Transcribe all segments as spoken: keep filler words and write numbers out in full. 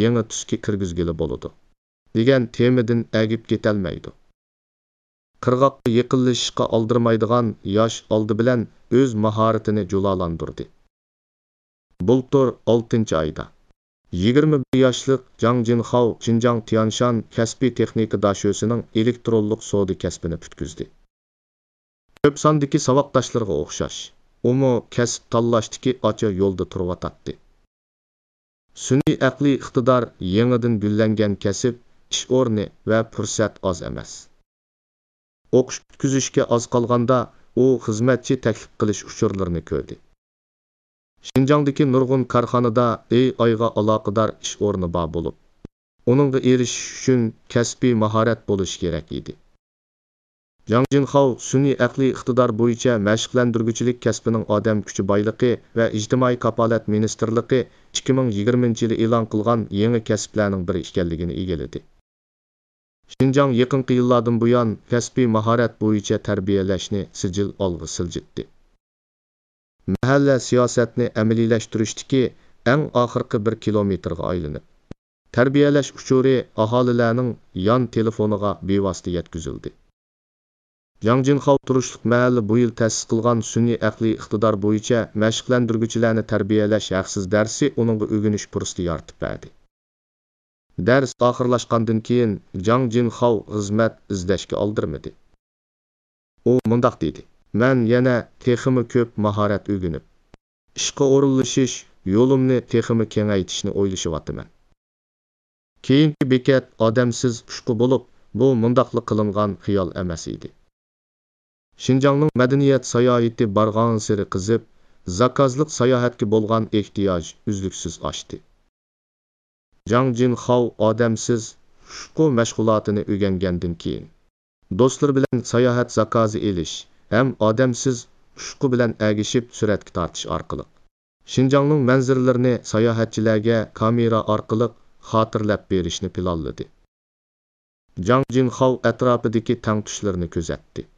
يېڭى تۈسكە كىرگۈزگىلى بولىدۇ، دېگەن تېمىدىن ئەگىپ كېتەلمەيدۇ. قىرغاققا يېقىنلىشىشقا ئالدىرىمايدىغان ياش ئالدى بىلەن ئۆز ماھارىتىنى جۇلالاندۇردى. بۇلتۇر ئالتىنچى ئايدا، يىگىرمە بىر ياشلىق جاڭ جىنخاۋ شىنجاڭ تيانشان كەسپىي تېخنىكا داشۆسىنىڭ ئېلېكترونلۇق سودا كەسپىنى پۈتكۈزدى. كۆپ ساندىكى ساۋاقداشلىرىغا ئوخشاش، ئۇمۇ كەسىپ تاللاشتىكى ئاچا يولدا تۇرۇۋاتاتتى. سۈنئىي ئەقلىي ئىقتىدار يېڭىدىن گۈللەنگەن كەسىپ، ئىش ئورنى ۋە پۇرسەت ئاز ئەمەس. ئوقۇش پۈتكۈزۈشكە ئاز قالغاندا، ئۇ خىزمەتچى تەكلىپ قىلىش ئۇچۇرلىرىنى كۆردى. شىنجاڭدىكى نۇرغۇن كارخانىدا ئېي ئايغا ئالاقىدار ئىش ئورنى بار بولۇپ، ئۇنىڭغا ئېرىشىش ئۈچۈن كەسپىي ماھارەت بولۇشى كېرەك ئىدى. جاڭ جىنخاۋ سۈنئىي ئەقلىي ئىقتىدار بويىچە مەشىقلەندۈرگۈچىلىك كەسپىنىڭ ئادەم كۈچى بايلىقى ۋە ئىجتىمائىي كاپالەت مىنىستىرلىقى ئىككى مىڭ يىگىرمىنچى يىلى ئېلان قىلغان يېڭى كەسىپلەرنىڭ بىرى ئىكەنلىكىنى ئىگىلىدى. شىنجاڭ يېقىنقى يىللاردىن بۇيان كەسپىي ماھارەت بويىچە تەربىيەلەشنى سىجىل ئالغا سىلجىتتى. مەھەللە سىياسەتنى ئەمەلىيلەشتۈرۈشتىكى ئەڭ ئاخىرقى بىر كىلومېتىرغا ئايلىنىپ، تەربىيەلەش ئۇچۇرى ئاھالىلەرنىڭ يان تېلېفونىغا بىۋاسىتە يەتكۈزۈلدى. جاڭ جىنخاۋ تۇرۇشلۇق مەھەللە بۇ يىل تەسىس قىلغان سۈنئىي ئەقلىي ئىقتىدار بويىچە مەشىقلەندۈرگۈچىلەرنى تەربىيەلەش ھەقسىز دەرسى ئۇنىڭغا ئۆگىنىش پۇرسىتى يارىتىپ بەردى. دەرس ئاخىرلاشقاندىن كېيىن، جاڭ جىنخاۋ خىزمەت ئىزدەشكە ئالدىرىمىدى. ئۇ مۇنداق دېدى، مەن يەنە تېخىمۇ كۆپ ماھارەت ئۆگىنىپ، ئىشقا ئورۇنلىشىش يولۇمنى تېخىمۇ كېڭەيتىشنى ئويلىشىۋاتىمەن. كېيىنكى بېكەت ئادەمسىز ئۇچقۇ بولۇپ، بۇ مۇنداقلا قىلىنغان خىيال ئەمەس ئىدى. شىنجاڭنىڭ مەدەنىيەت ساياھىتى بارغانسېرى قىزىپ، زاكازلىق ساياھەتكە بولغان ئېھتىياج ئۈزلۈكسىز ئاشتى. جاڭ جىنخاۋ ئادەمسىز ئۇچقۇ مەشغۇلاتىنى ئۆگەنگەندىن كېيىن، دوستلىرى بىلەن ساياھەت زاكازى ئېلىش ھەم ئادەمسىز ئۇچقۇ بىلەن ئەگىشىپ سۈرەتكە تارتىش ئارقىلىق، شىنجاڭنىڭ مەنزىرىلىرىنى ساياھەتچىلەرگە كامېرا ئارقىلىق خاتىرىلەپ بېرىشنى پىلانلىدى. جاڭ جىنخاۋ ئەتراپىدىكى تەڭتۇشلىرىنى كۆزەتتى.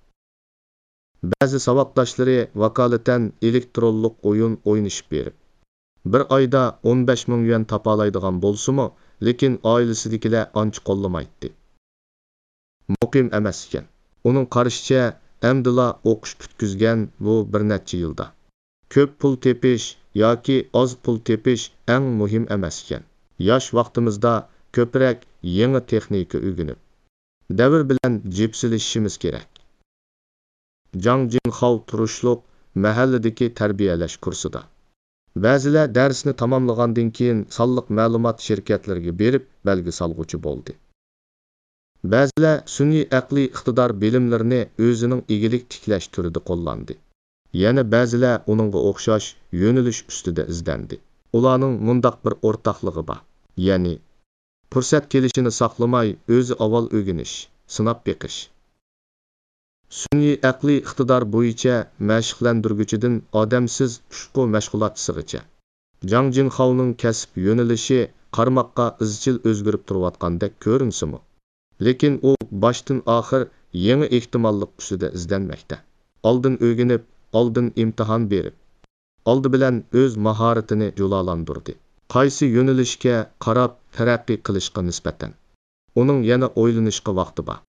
بەزى ساۋاقداشلىرى ۋاكالىتەن ئېلېكترونلۇق ئويۇن ئوينىشىپ بېرىپ، بىر ئايدا ئون بەش مىڭ يۈەن تاپالايدىغان بولسىمۇ، لېكىن ئائىلىسىدىكىلەر ئانچە قوللىمايتتى. مۇقىم ئەمەس ئىكەن. ئۇنىڭ قارىشىچە، ئەمدىلا ئوقۇش پۈتكۈزگەن بۇ بىر نەچچە يىلدا. كۆپ پۇل تېپىش ياكى ئاز پۇل تېپىش ئەڭ مۇھىم ئەمەس ئىكەن. ياش ۋاقتىمىزدا كۆپرەك يېڭى تېخنىكا ئۆگىنىپ، دەۋر بىلەن جىپسىلىشىشىمىز كېرەك. جاڭ جىنخاۋ تۇرۇشلۇق مەھەللىدىكى تەربىيەلەش كۇرسىدا. بەزىلەر دەرسنى تاماملىغاندىن كېيىن سانلىق مەلۇمات شىركەتلىرىگە بېرىپ بەلگە سالغۇچى بولدى. بەزىلەر سۈنئىي ئەقلىي ئىقتىدار بىلىملىرىنى ئۆزىنىڭ ئىگىلىك تىكلەش تۈرىدە قوللاندى. يەنە بەزىلەر ئۇنىڭغا ئوخشاش يۆنىلىش ئۈستىدە ئىزدەندى. ئۇلارنىڭ مۇنداق بىر ئورتاقلىقى بار، يەنى پۇرسەت كېلىشىنى ساقلىماي، ئۆزى ئاۋۋال ئۆگىنىش، سىناپ بېقىش. سۈنئىي ئەقلىي ئىقتىدار بويىچە مەشىقلەندۈرگۈچىدىن ئادەمسىز ئۇچقۇ مەشغۇلاتچىسىغىچە، جاڭ جىنخاۋنىڭ كەسىپ يۆنىلىشى قارىماققا ئىزچىل ئۆزگىرىپ تۇرۇۋاتقاندەك كۆرۈنسىمۇ، لېكىن ئۇ باشتىن ئاخىر يېڭى ئېھتىماللىق ئۈستىدە ئىزدەنمەكتە. ئالدىن ئۆگىنىپ، ئالدىن ئىمتىھان بېرىپ، ئالدى بىلەن ئۆز ماھارىتىنى جۇلالاندۇردى. قايسى يۆنىلىشكە قاراپ تەرەققىي قىلىشقا نىسبەتەن، ئۇنىڭ يەنە ئويلىنىشقا ۋاقتى بار.